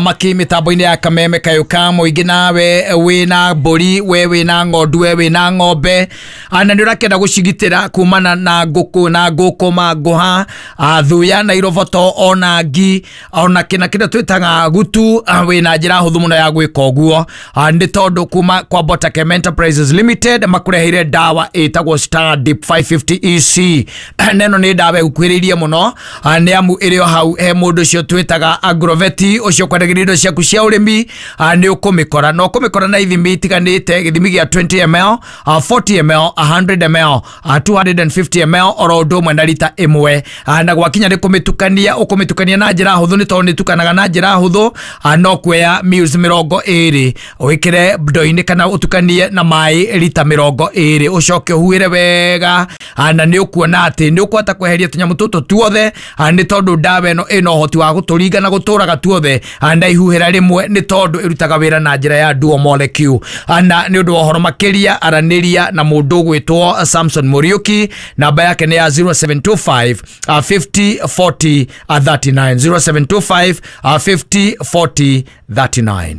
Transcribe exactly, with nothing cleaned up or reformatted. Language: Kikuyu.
Maki mitambo-inĩ ya Kameme kayũ ka mũingĩ. Nawe wĩna mbũri, we wĩna ng'ondu, we wĩna ng'ombe na nĩ ũrakĩenda gũcigitĩra kumana na ngũkũ na ngũkũma, ngũha, thuya na iroboto ona ngi ona kĩna kĩrĩa twĩtaga gutu, wĩna njĩra hũthũ mũno ya gwĩka ũguo, nĩ tondũ kuma kwa Botakem Enterprises Limited makũreheire ndawa ĩtagwo Star Dip magana matano na mĩrongo ĩtano E C. Neno nĩ ndawa ĩgũkuhĩrĩirie mũno, nĩ amu ĩrĩ o hau he mũndũ ũcio twĩtaga agroveti ũcio kwendagĩria indo ciaku cia ũrĩmi, nĩ ũkũmĩkora na ũkũmĩkora na ithimi itiganĩte, gĩthimi gĩa mĩrongo ĩrĩ ml, mĩrongo ĩna ml, igana ml, magana merĩ na mĩrongo ĩtano ml, oro ũndũ ũmwe na rita ĩmwe. Na gwakinya nĩ kũmĩtukania, ũkũmĩtukania na njĩra hũthũ, nĩ tondũ nĩ ĩtukanaga na njĩra hũthũ. No kuoya mils mĩrongo ĩrĩ wĩkĩre ndoo-inĩ kana ũtukanie na maĩ rita mĩrongo ĩrĩ, ũcoke ũhuhĩre wega, na nĩ ũkuona atĩ nĩ ũkũhota kweheria tũnyamũ tũtũ tuothe, nĩ tondũ ndawa ĩno ĩna ũhoti wa gũtũringa na gũtũraga tuothe na ihuhĩra rĩmwe, nĩ tondũ ĩrutaga wĩra na njĩra ya dual molecule. Na nĩ ũndũ wa ũhoro makĩria, aranĩria na mũndũ ũgwĩtwo Samson Muriuki. Namba yake nĩ ya zero seven two five fifty forty thirty-nine, zero seven two five fifty forty thirty-nine.